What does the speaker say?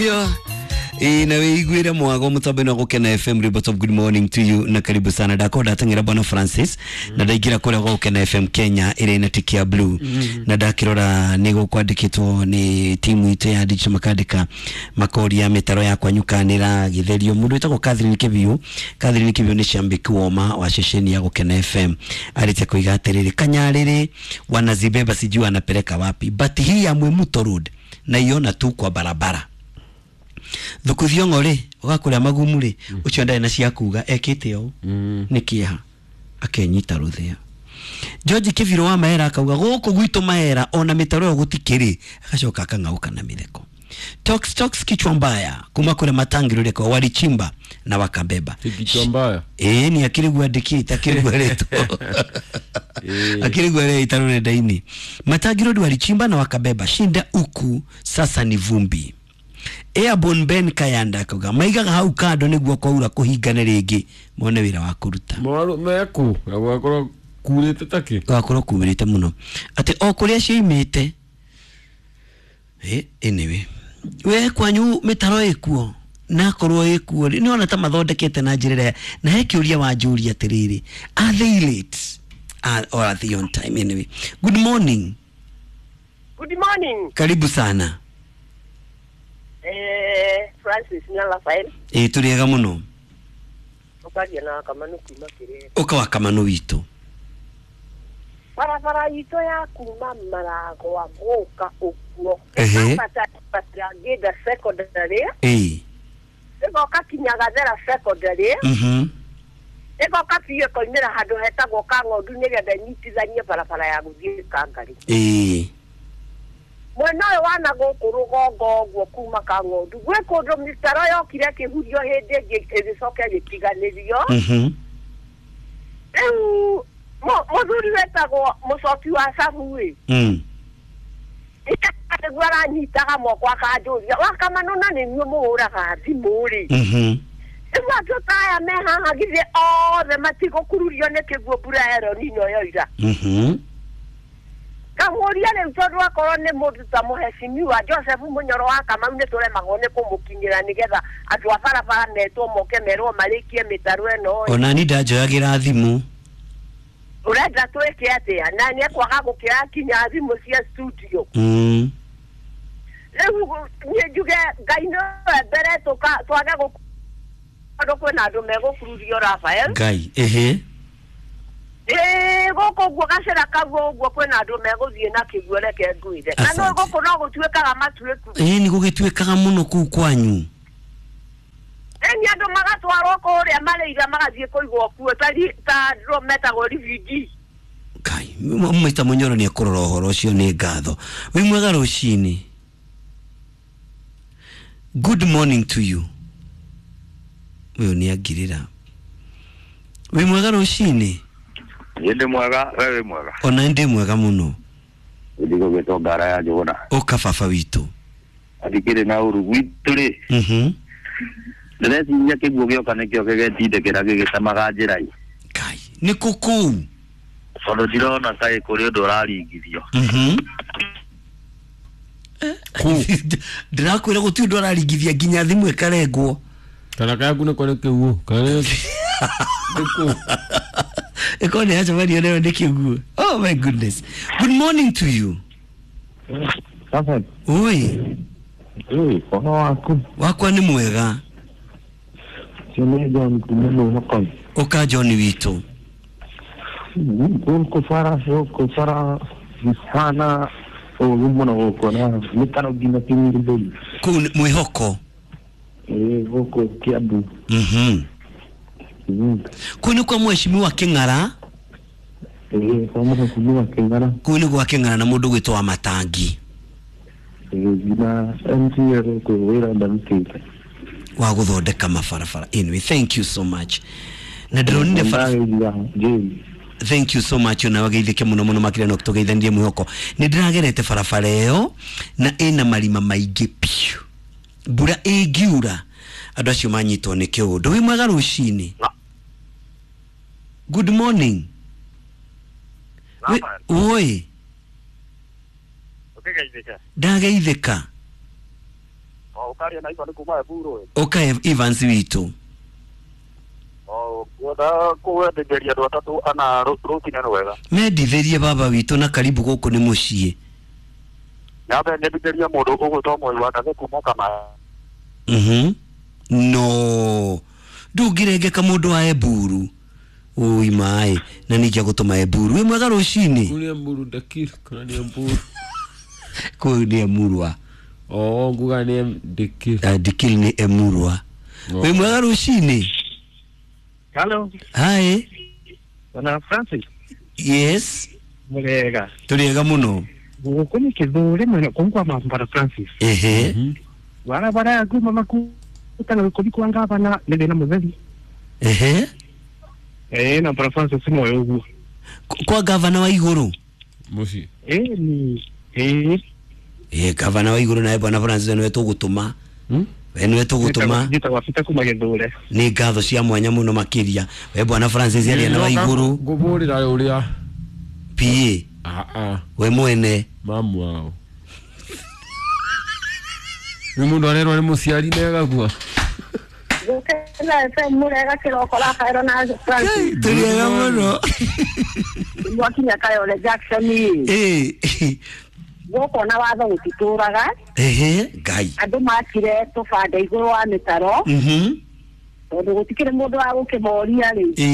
Na wĩiguĩre mwago mũtambo-inĩ wa Gũkena FM. Ribot of good morning to you na karibu sana. Ndakorwo ndateng'era bwana Francis na ndaingĩra kũrĩa gwa Gũkena FM Kenya ĩrĩa ĩna tiki ya blue, na ndakĩrora nĩ gũkwandĩkĩtwo nĩ timu itũ ya digital, makandĩka makoria mĩtaro ya kwanyuka nĩ ĩragĩtherio. Mũndũ wĩtagwo Catherine Kĩbiũ, Catherine Kĩbiũ nĩ shambiki woma wa ceceni ya Gũkena FM, arĩte kuiga atĩrĩrĩ, kanyarĩrĩ wanazibeba sijui wanapeleka wapi, but hii ya Mwimuto Road naiona tu kwa barabara. Thuku thiongo rĩ, ũgakũrĩa magumu rĩ, ũcio ndarĩ na cia kuga ekĩte ũũ nĩ kĩeha akenyita rũthĩa. George Kĩbirũ wa Mahera akauga gũkũ gwitũ Mahera ona mĩtaro ĩyo gũtikĩrĩ, agacoka akang'auka na mĩtheko. Tox Tox kichwa mbaya kuma kule Matangiro kwa walichimba na wakabeba. Kichwa mbaya. Ĩĩ, ni akĩrĩguo andĩkĩte, akĩrĩguo aretwo, akĩrĩguo areita rũrenda-inĩ. Matangi Road walichimba na wakabeba, shinda huku sasa ni vumbi. Airborne Ben Kayanda akauga maigaga hau kando nĩguo kwaura kũhingane rĩngĩ mone wĩra wa kũruta. Mwaru meku na gwakorwo kurĩte takĩ. Gwakorwo kumĩrĩte mũno atĩ o kũrĩa cioimĩte. Anyway, we kwanyu mĩtaro ĩkuo nakorwo ĩkuo rĩ, nĩwona ta mathondekete na njĩra ĩrĩa, na he kĩũria wanjũria atĩrĩrĩ, are they late? Or are they on time? Anyway, good morning. Good morning. Karibu sana. Francis na Rafael. Ĩ, tũrĩ ega mũno. Ũkaria na Kamanu kuma Kĩrĩra. Ũka wa Kamanu witũ. Barabara itũ ya kuma Maragwa gũka ũguo. Ehe. Ngĩnda secondary. Ĩ. Ĩgoka kinya Gathera secondary. Ĩgoka biũ ĩkoimĩra handũ hetagwo Kang'ondu nĩgetha ĩnyitithanie barabara ya gũthiĩ Kangarĩ. Ĩ. Mwena ũyũ wa na gũkũ rũgongo ũguo kuma Kang'ondu gwĩ kũndũ mĩtaro yokire ĩkĩhurio hĩndĩ ĩngĩ ĩgĩcoka ĩgĩtiganĩrio. Rĩu mũthuri wetagwo mũcoki wa Cabu ĩ, nĩguo aranyitaga moko akanjũria, Wakamanu na nĩ inyuĩ mũhũraga thimũ rĩ, rĩu andũ ta aya me haha githĩ othe matigũkururio nĩ kĩguũ mbura ya El Nino yoira? Kamũria rĩu tondũ akorwo nĩ mũndũ ta mũhecimiwa Joseph Mũnyoro wa Kamau nĩ tũremagwo nĩ kũmũkinyĩra nĩgetha andũ a barabara metwo moke merwo marĩkie mĩtaro ĩno ĩ. Ona ni ndanjoyagĩra thimũ. Ũrenda twĩke atĩa? Na nĩ ekwaga gũkĩoya kinya thimũ cia studio. Rĩu niĩ njuge Ngai nĩwe mbere twage tondũ kwĩna andũ megũkururio Rafael. Ngai ehe. Ĩĩ, gũkũ ũguo gacĩra kau ũguo kwĩna andũ megũthiĩ na kĩguo, reke ngwĩre. Na no Asante. gũkũ no gũtuĩkaga matuĩku. Ĩ, nĩ gũgĩtuĩkaga mũno kũu kwanyu. Ĩni andũ magatwarwo kũrĩa marĩira magathiĩ kũigwo kuo ta andũ metagwo refugee. Ngai, Mr. Mũnyoro nĩ ekũrora ũhoro ũcio, nĩ ngatho. Wĩ mwega rũcinĩ. Good morning to you. Ũyũ nĩ angirĩra. Wĩ mwega rũcinĩ. Niĩ ndĩ mwega, we wĩ mwega? Ona ndĩ mwega mũno. Ndigũgĩtwo ngara ya Njũgũna. Ũka baba witũ. Athikĩrĩ na ũru gwitũ rĩ, ndĩreciria kĩguũ gĩoka nĩkĩo gĩgetindĩkĩra gĩgĩtemaga njĩra ĩ. Ngai, nĩ kũ kũu? Tondũ ndirona kaĩ kũrĩ ũndũ ũraringithio. Ndĩrakwĩra gũtirĩ ũndũ araringithia nginya thimũ ĩkarengwo. Kana kayaku nĩko nĩ kĩguũ kana nĩ kũ. Ĩkorwo nĩ yacemanio nayo nĩ kĩguũ. Oh my goodness. Good morning to you. Sasa Oi, ũhoro waku? Wakwa nĩ mwega. Cio nĩ John kuma Mwĩhoko. Ũka John witũ. Gũkũ bara, gũkũ bara hana ũru mũno gũkũ na mĩtaro nginya kĩnyirithũri. Kũu nĩ Mwĩhoko. Ĩĩ, gũkũ Kĩambu. Kũu nĩ kwa mheshimiwa Kĩng'ara. Ĩĩ, kwa mheshimiwa Kĩng'ara. Kũu nĩ gwa Kĩng'ara na mũndũ gwĩtwo wa Matangi. Ĩĩ, nginya MCA gũkũ wĩra ndarutĩte. Wa gũthondeka mabarabara. Anyway, thank you so much. Na ndĩronire bara. Ndagĩria James. Thank you so much, ona wageithĩke mũno mũno makĩria no tũgeithanirie mwĩhoko. Nĩ ndĩragerete barabara ĩyo na ĩna marima maingĩ piũ. Mbura ĩngiura andũ acio manyitwo nĩ kĩũndũ. Wĩ mwega rũcinĩ. Good morning. Oi. Ũkĩgeithĩka? Ndageithĩka. Ũkaria na Ivan kuma Eburu. Ũka Evans witũ. Ngwenda kũwendithĩria andũ atatũ ana rũcinĩ rwega. Mendithĩrie baba witũ na karibu gũkũ nĩ mũciĩ. Nyambe nyendithĩrie mũndũ ũgwĩtwo Moi wa Ndathe kuma Kama. No ndũngĩrengeka mũndũ wa Eburu ui maĩ na ningĩ agũtũma Eburu wĩ mwega rũcinĩ. Kuu nĩ Emuru Ndakiri kana nĩ Emburu? Kũu nĩ Emurwa. Oh, nguga nĩ Ndikiri. Ndikiri nĩ Emurwa. Oh. Wĩ mwega rũcinĩ. Hello, Hi. bwana Francis. Yes. Murega. Tũrĩ ega mũno. Gũkũ nĩ kĩthũri mwena kũu kwa Bwana Francis. Ehe. Barabara ya kuma makuta na gũkũthi kwa ngavana nĩ thĩna mũtheri. Ehe. Eh, na Bwana Francis moyo ũguo. Kwa gavana wa igũrũ. Mũciĩ. Eh, ni eh Ĩ gavana wa igũrũ nawe bwana Francis nĩwe tũgũtũma. We nĩwe tũgũtũma. Njĩtagwo Peter kuma Gĩthũre. Nĩ ngatho cia mwanya mũno makĩria. We bwana Francis aria na wa igũrũ. Ngũbũrĩra ũrĩa. PA. Ah ah. We mwene. Mamu wao. Nĩ mũndũ arerwo nĩ mũciari na agakua. Gũkena FM mũrega kĩroko Rafaelo na Francis. Tũrĩ ega mũno. Mwakinya Kayole Jackson Ĩ. Gũkũ na watho gũtitũraga. Ehe. Ngai. Andũ makire tũbanda igũrũ wa mĩtaro tondũ gũtikĩrĩ mũndũ wa gũkĩmoria rĩ. Ĩ.